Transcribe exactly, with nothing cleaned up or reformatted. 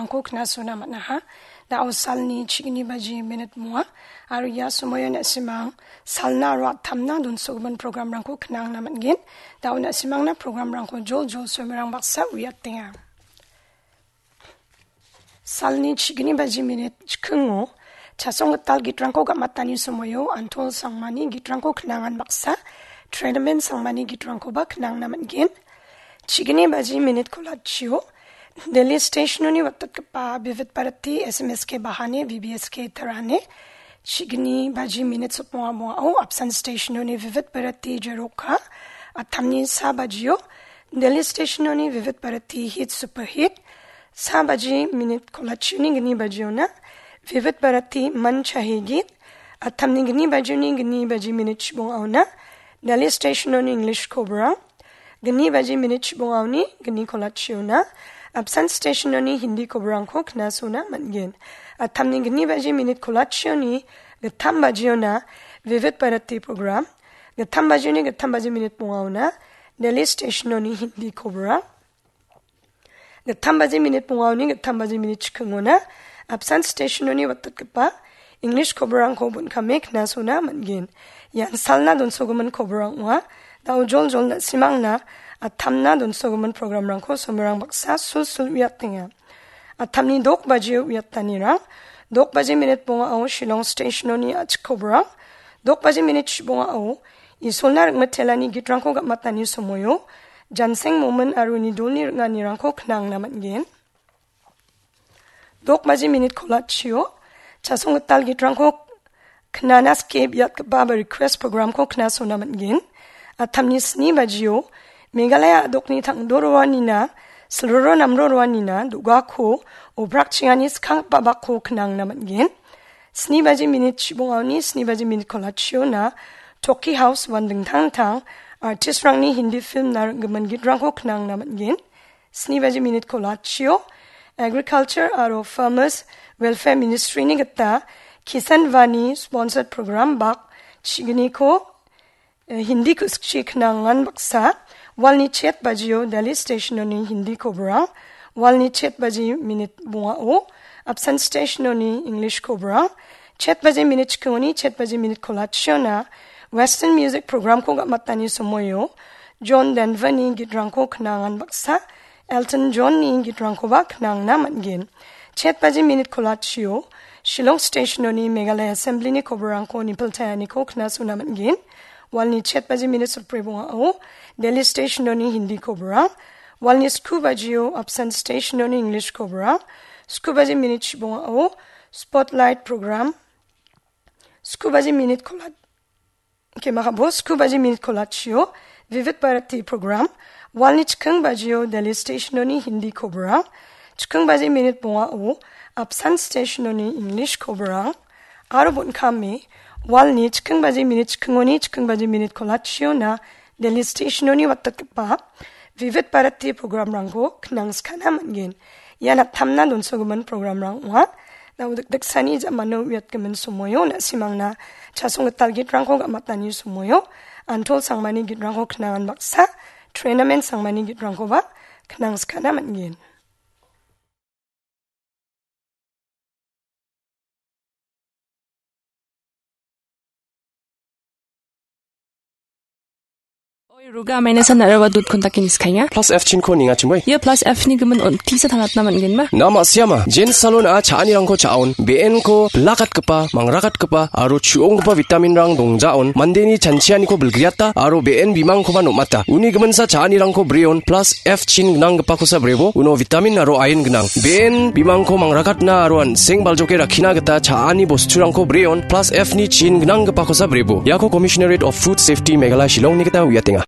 programrangko knasona man·aha. Da·o salni chigni baji minit moa, aro ia somoio na·simang salna aro attamna donsogimin programrangko knangna man·gen. Da·o na·simangna programrangko joljol soimerang baksa uiatenga. Salni chigni baji minit chikingo chasong gital gitrangko gamatani somoio Antol Sangmani gitrangko knangan baksa, Trenamen Sangmani gitrangkoba knangna man·gen. Chigni baji minit kolachio Delhi Stationoni watatgipa Vividh Bharati, S M S K Bahane, V B S K Tarane, chigni baji minit sotmonga mongao Apsan Stationoni Vividh Bharati Jeroka, attamni sa bajio Delhi Stationoni Vividh Bharati Hit Super Hit, sa baji minit kolachioni gni bajiona Vividh Bharati Man Chahe Geet, attamni gni bajioni gni baji minit chibongaona Delhi Stationoni English kobrang, gni baji minit chibongaoni gni kolachiona Apsan Stationoni Hindi kobrangko knasona man·gen. Attamni gni baji minit kolachioni gittam bajiona Vividh Bharati program, gittam bajioni gittam baji minit bongaona Delhi Stationoni Hindi kobrang, gittam baji minit bongaoni gittam baji minit chikingona Apsan Stationoni watatgipa English kobrangko bon·kame knasona man·gen. Ian salna donsogimin kobrang ong·a. Da·o joljol na·simangna attamna donsogimin programrangko somerang baksa sulsul uiatenga. Attamni dok bajio uiatanirang, dok baji minit bongao Shillong Stationoni a·chik kobrang, dok baji minit chibongao Isolna ringmitelani gitrangko gamatani somoio Janseng Momin aro uni dolni ring·anirangko knangna man·gen. Dok baji minit kolachio chasong gital gitrangko knana skie biatgipa ba request programko knasona man·gen. Attamni sni bajio Meghalaya a·dokni tangdo roanina, silroro namro roanina do·gako obrakchingani skanggipa bakko knangna man·gen. Sni baji minit chibongaoni sni baji minit kolachiona Toki House uan dingtang dingtang artistrangni Hindi film na ring·gimin gitrangko knangna man·gen. Sni baji minit kolachio Agriculture aro Farmers Welfare Ministryni gita Kisan Vani sponsored program bak chigniko, eh, Hindi ku-, sikchi knangan baksa, walni chet bajio Delhi Stationoni Hindi kobrang, walni chet baji minit bongao Apsan Stationoni English kobrang, chet baji minit chikingoni chet baji minit kolachiona Western Music programko gamatani somoio John Denverni gitrangko knangan baksa, Elton Johnni gitrangkoba knangna man·gen. Chet baji minit kolachio Shillong Stationoni Meghalaya Assemblyni kobrangko nipiltaenganiko knasona man·gen. Walni chet baji minit sotbri bongao Delhi Stationoni Hindi kobrang, walni sku bajio Apsan Stationoni English kobrang, sku baji minit chibongao Spotlight program, sku baji minit kola-, kemakabo sku baji minit kolachio Vividh Bharati program, walni chiking bajio Delhi Stationoni Hindi kobrang, chiking baji minit bongao Apsan Stationoni English kobrang, aro bon·kame walni chiking baji minit chikingoni chiking baji minit kolachiona Delhi Stationoni watatgipa Vividh Bharati programrangko knangskana man·gen. Ia nattamna donsogimin programrang ong·a. Nao dikdiksani ja·mano uiatgimin somoio na·simangna chasong gital gitrangko gamatani somoio Antol Sangmani gitrangko knangan baksa, Trenamen Sangmani gitrangkoba knangskana man·gen. Oi, Ruga, amaina san araba dut kontak ini skainga. Plus F chin ko ninga chimoi. Ia plus F ni gimin on tisa tangatna man·genba? Na ma·siama. Jen salon a cha·anirangko cha·on. Be·enko bilakatgipa, mangrakatgipa, aro chu·onggipa vitaminrang dongjaon. Mandeni chanchianiko bilgriata, aro be·en bimangkoba nom·ata. Uni giminsa cha·anirangko breon, plus F chin gnanggipakosa brebo, uno vitamin aro iron gnang. Be·en bimangko mangrakatna aro an·seng baljoke rakkina gita cha·ani bosturangko breon, plus F ni chin gnanggipakosa brebo. Iako Commissionerate of Food Safety Meghalaya Shillongni gita uiatenga.